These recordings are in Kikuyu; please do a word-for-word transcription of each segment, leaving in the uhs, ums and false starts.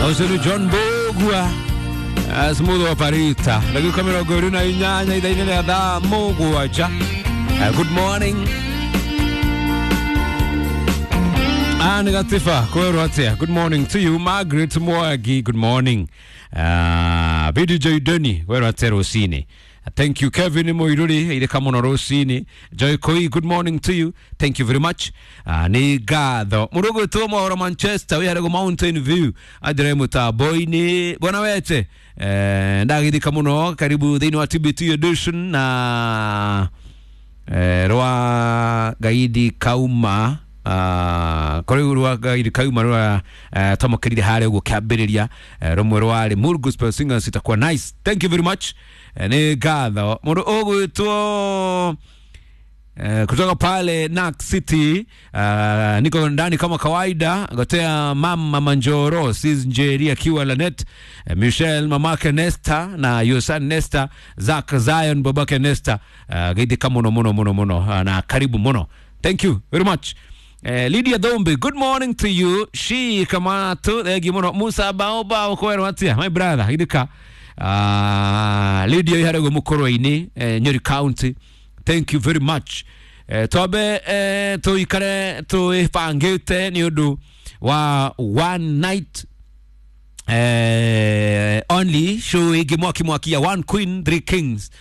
Ũcio nĩ John Mbũgua, smooth operator. Ndagĩka mĩrongo ĩrĩ na inyanya ithaa-inĩ rĩa thaa mũgwanja. Good morning. Anne Gatifa, kwĩrwo atĩa? Good morning to you. Margaret Mwagi, good morning. Uh, B D J Deni, kwĩrwo atĩa rũcinĩ? Thank you, Kevin Moiruri, ireka mũno rũcinĩ. Joy Koi, good morning to you. Thank you very much. Uh, nĩ ngatho. Mũndũ ũgwĩtwo Mohoro Manchester, wĩ harĩa Mountain View, anjĩre mũtambo-inĩ. Bwana wete, eh, ndagithika mũno, karibu thĩinĩ wa T B T edition na eh, rwa Gaidi Kauma, uh, kũrĩ rwa Gaidi Kauma rwa uh, twamũkĩrire harĩa ũguo kĩambĩrĩria, uh, rũmwe rwarĩ Mood Gospel Singers itakuwa nice. Thank you very much. uh, nĩ ngatho. Mũndũ ũgwĩtwo Uh, kutoka pale Nak City, uh, niko ndani kama kawaida. Gotea mama Manjoro Sis Njeri akiwa Lanet, uh, Michelle mamake Nesta na Yosan Nesta, Zak Zion babake Nesta, uh, geithika muno muno muno muno, uh, na karibu muno. Thank you very much. Uh, Lydia Dombe, good morning to you. Shi Kamatu, thengi muno. Musa Baoba, ukwero atia, my brother, geithika. Uh, Lydia iharego mukoro-inĩ, uh, Nyeri County. Thank you very much. Eh, twambe eh, tuikare twĩbangĩte nĩ ũndũ wa one night eh, only show ĩngĩ mwaki mwaki ya One Queen Three Kings,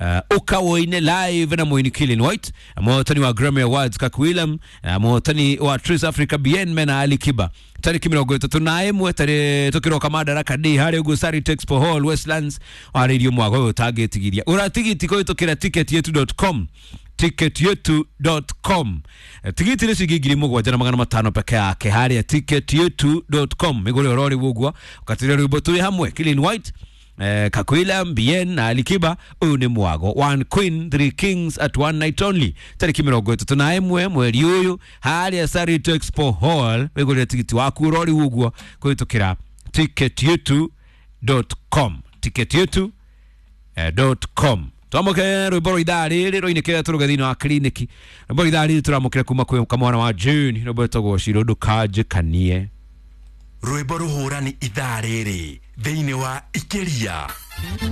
uh, ukawoine live na Moini Killing White, muhotani wa Grammy Awards Kak William, uh, muhotani wa Trace Africa Bien Mena Ali Kiba, tariki mĩrongo ĩtatũ na ĩmwe tarĩ tũkĩroka Madaraka Day harĩa ũguo Sarit Expo Hall, Westlands. Warĩirio mwago ũyũ ũtangĩtigiria ũra tigiti kũhĩtũkĩra ticket yetu dot com, ticket yetu dot com. Tigiti nĩ ciringi ngiri mũgwanja na magana matano peke yake harĩa ticket yetu dot com. Mĩgũre ũrori ũguo ũkatĩria rwĩmbo twĩ hamwe, Killing White, eh, Kakwila Bien na Alikiba. Ũyũ nĩ mwago One Queen Three Kings at one night only, tarĩki mĩrongo ĩtatũ na ĩmwe mweri ũyũ harĩa Sarit Expo Hall. Wĩgũrĩre tigiti waku ũrori ũguo kũhĩtũkĩra ticket yetu dot com, ticket yetu dot com. Twamũkĩre rwĩmbo rwa ithaa rĩrĩ rũinĩkĩre tũrũge thĩinĩ wa kliniki. Rwĩmbo rwa ithaa rĩrĩ tũramũkĩra kuma kwĩ kamwana wa June, rwĩmbo rwĩtagwo Ciro Ndũkanjĩkanie. Rwĩmbo rũhũrani ithaa rĩrĩ thĩinĩ wa Ikĩria.